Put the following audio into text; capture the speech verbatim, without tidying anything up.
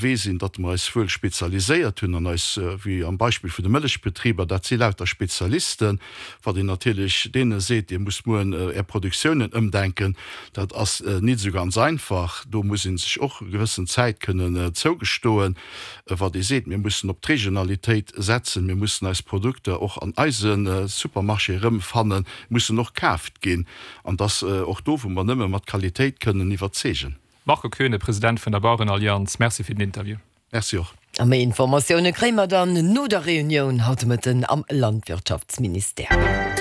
Wee sinn, datt mer eis wuel spezialiséiert hunn an eis, wéi am Beispill vun de Mëllechbetriber, dat si lauter Spezialisten, wat een natierlech deene seet, Dir musst mueren Är Produktiounen ëmdenken, dat ass nit esou ganz einfach. Do muss ee sech och e gewëssen Zäit kënnen zougestoen, wat ee seet, mir mussen op d'Regionalitéit setzen, mir mussen eis Produkter och an eise Supermarché erëmfannen, mussen och kaaft ginn, an dass och do, wou mer nëmme mat Qualitéit kënnen iwwerzeegen. Marco Koeune, President vun der Bauerenallianz, Merci fir den Interview. Merci och. A méi Informatioune kréie mer dann no der Reunioun haut de Mëtten am Landwirtschaftsministère.